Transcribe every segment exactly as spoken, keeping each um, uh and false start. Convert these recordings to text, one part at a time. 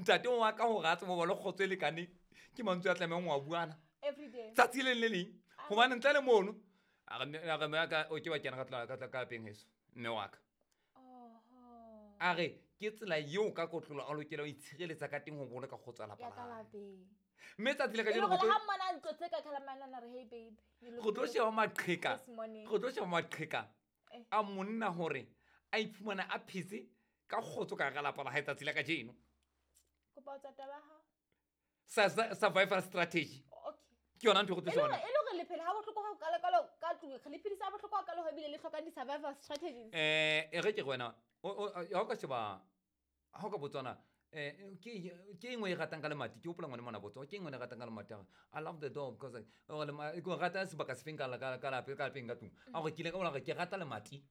Ntate wa ka hore a tsebe ho ba le kgotso e lekaneng ke mantswe a tlamehang ho a buana every day. Tsatsi le leng le leng hobane ntle le mono a re mme a re mme wa ka o ke wa kena ka tla ka tla ka lapeng heso mme wa ka. Oho. A re ke tsela eo ka kotlolo a lokela ho itshireletsa ka teng ho boloka kgotso ya lapa Ya la ka hae. Lapeng. Mme tsatsi le E kajeno le go hore tlo ha mmona a ntlotse ka kgalamanana re, "Hey babe, you look go tlo good sheba maqheka this morning." Go tlo sheba maqheka Eh. a monna hore a iphumana a phetse ka kgotso ka hara lapa la hae tsatsi la kajeno. Kopa ho tswa taba ya hao. Sa- sa- survival strategy. Okay. Ke yona ntho e go tlo E le shebana. hore e le hore le phela ha bohloko ha kalokalo ka tlung, re le phedisa ha bohloko ha kalo ho ebile le hlokang di-survival strategies. Eh, e re ke re wena o- o- ha o ka sheba ha o ka botswana eh ke ke engwe e ratang ka lemati ke hopola ngwana mona botsa ke engwe e ratang ka lemati a re, "I love the door because I- o lema- ke o rata sebaka se feng ka la- ka ka lapeng ka lapeng ka tlung?" A gore ke ile ka bona gore ke rata lemati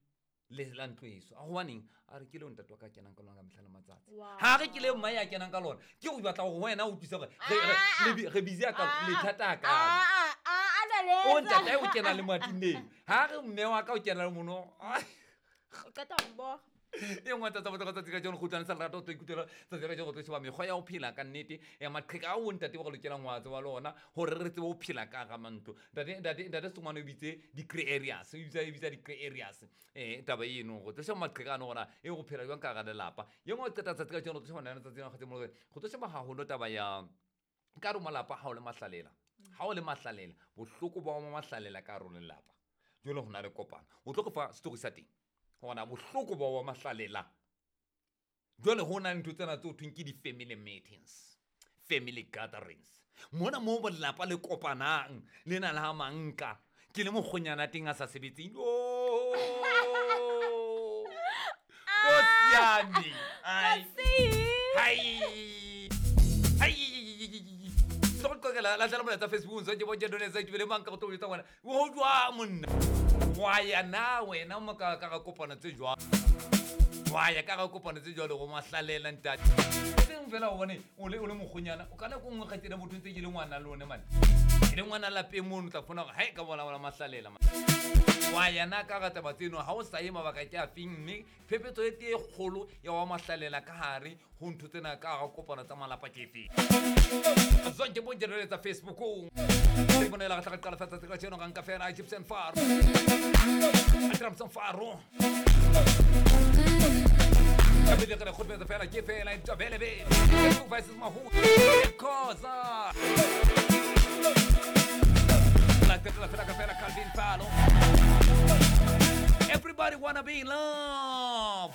le la ntlo eso. A hobaneng? A re ke leo ntate wa ka kenang ka lona ka mehla le matsatsi. Wow. Ha re ke le mma ya kenang ka lona ke go batla gore wena o utlwise gore re- re- Ah! le bi- re busy a ka Ah! lethata a kalo. Ah, ah, ah, a O ntate letsa. o kena le matineng ha re mme wa ka o kena le mono. O qeta ho mboga. E nngwe tsa botlhokwa tsatsi ka jeno go utlwana sa lerato o tlo ikutlwela tsatsi ka jeno go tlo sheba mekgwa ya ho phela ka nnete ya maqheka a o ntate ba re lokelang ho a tseba le ona hore re tsebe ho phela ka hara mantlo. Ntate ntate ntate Sengwane o bitse di-grey areas o bitsa e bitsa di-grey areas um taba eno go tlo sheba maqheka ano gona e go phela jwang ka hara lelapa. Ye nngwe o qeta tsatsi ka jeno go tlo sheba nana tsatsi lena kgotsa mo go tlo sheba haholo taba ya ka re malapa ha o le mahlalela ha o le mahlalela bohloko ba wa mahlalela ka hare ho lelapa jwale ho na le kopano o tlo go fa story sa teng gona bohloko ba wa mahlalela jwale ho na le ntho tsena tse ho thweng ke di-family meetings, family gatherings mona moo lelapa le kopanang le na le ha manka ke le mokgonyana teng a sa sebetseng. Oh! Kotsi yane. Ai. Hai. Hai. Tlo go qoqela la tla molaetsa Facebook ntse ke bontshe done tsa itubele mang ka go tlo jwetsa ngwana o jwang monna wa ya na wena mo ka ka ga kopano tse jwang wa ya ka ga kopano tse jwalo go mahlalela ntate seng fela o bone o le o le mokgonyana o ka nako nngwe kgaitsedi motho ntse ke le ngwana le one mane ke le ngwana lapeng mono o tla fona gore hai ka bona bona mahlalela man. Wa ya na ka ga taba tseno ha o sa ye mabaka ke a feng mme phephetso e tee e kgolo ya wa mahlalela ka hare ho ntho tsena ka ga kopano tsa malapa ke efeng zonke bonje tsa Facebook re bonela ga tla qala fa tsatsi ka tseno ga nka fela Egyptian Faro Trumpson Faro ka pele re kgotmetsa fela ke fela ntobele be versus Mahu Khoza la tetla fela ka fela Calvin Falo. Everybody wanna be in love.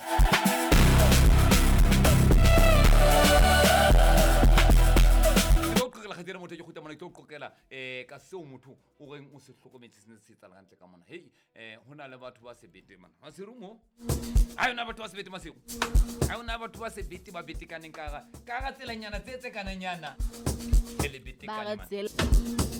Ke tlo qoqela kgaitsedi motho ke kgutla mona ke tlo qoqela um ka seo motho o reng o se hlokometse se ne se etsahala hantle ka mona hei um ho na le batho ba sebete mana Maseru mo ha yona batho ba sebete Maseru ha yona batho ba sebete ba betekaneng ka hara ka hara tselanyana tse tse kananyana e le Ba betekane re man. tsela.